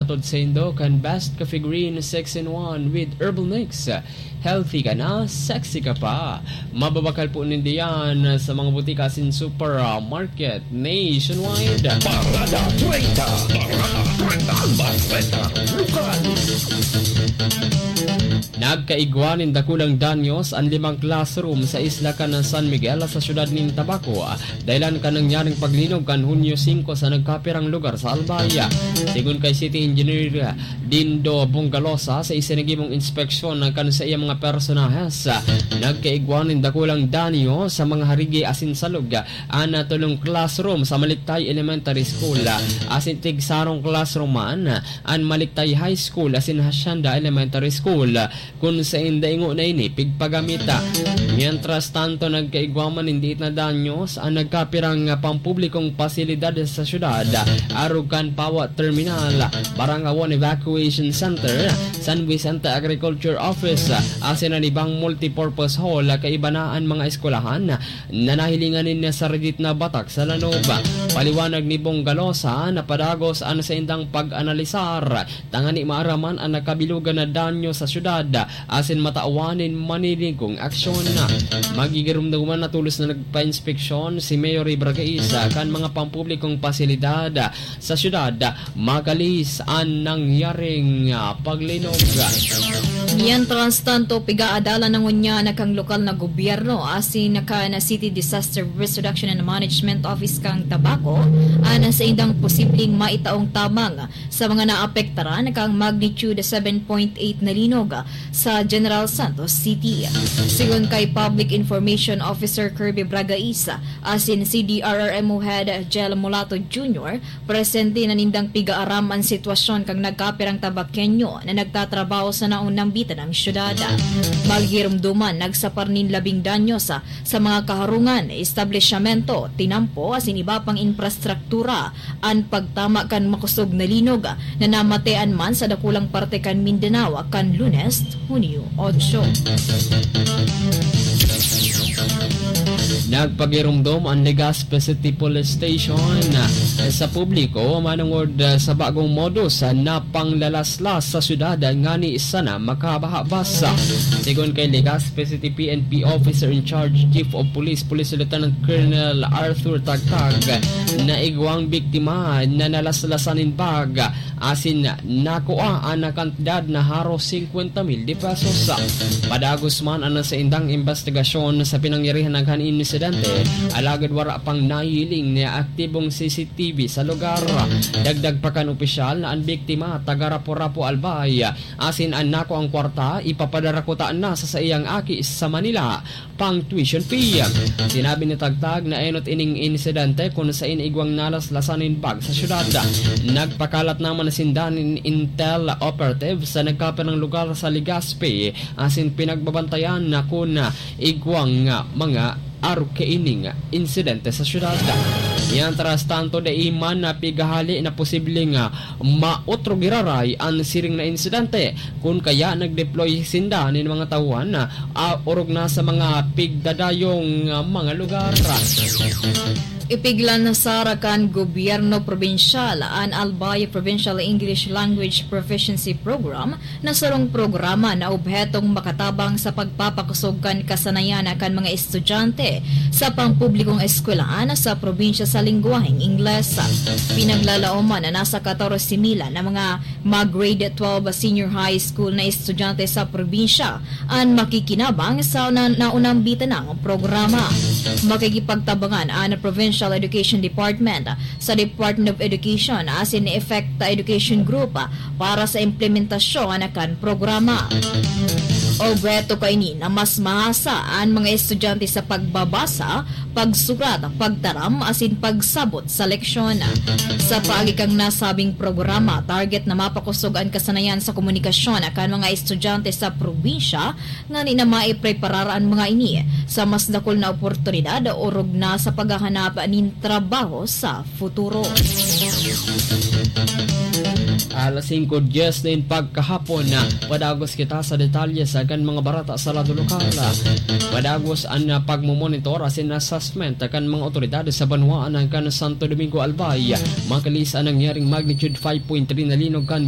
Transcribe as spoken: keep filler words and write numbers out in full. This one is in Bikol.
Tod saindo kan Best Coffee Green six in one with Herbal Mix. Healthy ka na, sexy ka pa. Mababakal po ninda yan sa mga butika asin supermarket nationwide. Parada treinta. Parada treinta. Bareta Lokal. Nagkaigwa nin dakulang danyos an limang classroom sa isla kan San Miguel sa siyudad nin Tabaco, dahilan kan nangyaring paglinog kan Hunyo singko sa nagkapirang lugar sa Albay. Sigon kay City Engineer Dindo Bongalosa, sa isinagimong inspeksyon kan saiyang mga personahes, nagkaigwa nin dakulang danyo sa mga harigi asin salog an tolong classroom sa Maliktay Elementary School asin tigsarong classroom man an Maliktay High School asin Hacienda Elementary School, kun sainda ingo na ini pigpagamita. Mientras tanto, nagkaigwa man nin diit na danyos an nagkapirang pampublikong pasilidad sa syudad, arog kan Pawa Terminal, Barangay one Evacuation Center, San Vicente Agriculture Office, asin an ibang multipurpose hall kaiba na an mga eskwelahan na nahilingan nin saridit na batak sa lanob. Paliwanag ni Bongalosa na padagos an saindang pag-analisar tangani maaraman an nakabilugan na danyo sa syudad asin matawan nin maninigong aksyon. Magigiromdoman na tolos na nagpa-inspeksyon si Mayor Ibragaisa kan mga pampublikong pasilidad sa syudad makalis an nangyaring, ah, paglinog. Mientras tanto, pigaadalan na ngunyan kan lokal na gobyerno asin kan City Disaster Risk Reduction and Management Office kan Tabaco an saindang posibleng maitaong tabang sa mga naapektaran kan magnitude seven point eight na linog sa General Santos City. Sigon kay Public Information Officer Kirby Bragais asin C D R R M O Head Jel Mulato Junior, presente na nindang pigaaram an sitwasyon kan nagkapirang Tabaqueño na nagtatrabaho sa naunambitan na syudad. Magiromdoman, nagsapar nin labing danyo sa, sa mga kaharungan, establisyamento, tinampo, asin iba pang infrastruktura an pagtama kan makosog na linog na namatean man sa dakulang parte kan Mindanao kan Lunes, Hunyo otso. Nagpagiromdom an Legazpi City Police Station sa publiko manongod sa bagong modus na panglalaslas sa syudad ngani sana makabahabas. Sigon kay Legazpi City P N P Officer in Charge, Chief of Police, Police Lieutenant Colonel Arthur Tagtag, naigwang biktima na nalaslasan nin bag asin nakua an kantidad na haros singkwenta mil de pesos. Padagos man an saindang imbestigasyon sa pinangyarihan kan insidente, alagad wara pang nahiling na aktibong C C T V sa lugar. Dagdag pa kan opisyal na an biktima taga Rapu-Rapu, Albay, asin an nakuang kwarta ipapadara kuta na sa saiyang aki sa Manila pang tuition fee. Sinabi ni Tagtag na enot ining insidente kun sain igwang nalaslasan nin bag sa syudad. Nagpakalat naman sinda nin intel operative sa nagkapirang lugar sa Legazpi asin pinagbabantayan na kun igwang mga arog kaining insidente sa syudad. Mientras tanto, dai man na pigahali na posibleng maotro giraray an siring na insidente, kun kaya nag-deploy sinda nin mga tauhan na, ah, orog na sa mga pigdadayong, ah, mga lugar. Ipiglansar kan gobyerno probinsyal an Albay Provincial English Language Proficiency Program na sarong programa na obhetong makatabang sa pagpapakosog kan kasanayan kan mga estudyante sa pampublikong eskwelahan sa probinsya sa lengguwaheng Ingles. Pinaglalaoman na nasa katorse mil na mga mag-grade twelve senior high school na estudyante sa probinsya an makikinabang sa na-, naunambitan ng programa. Makikipagtabangan ang Provincial Education Department sa Department of Education asin ni Effect Education Group para sa implementasyon kan programa. Obheto kaini na mas mahasa an mga estudyante sa pagbabasa, pagsurat, pagtaram asin pagsabot sa leksyon. Sa paagi kan nasabing programa, target na mapakosog an kasanayan sa komunikasyon kan mga estudyante sa probinsya, ngani na maipreparar an mga ini sa mas dakul na oportunidad orog na sa paghahanap nin trabaho sa futuro. Alas singko dyes nin pagkahapon na padagos kita sa detalye sa kan mga bareta sa lado lokal. Padagos an pagmomonitor asin assessment kan mga otoridad sa banwaan kan Santo Domingo, Albay, makalis an nangyaring magnitude five point three na linog kan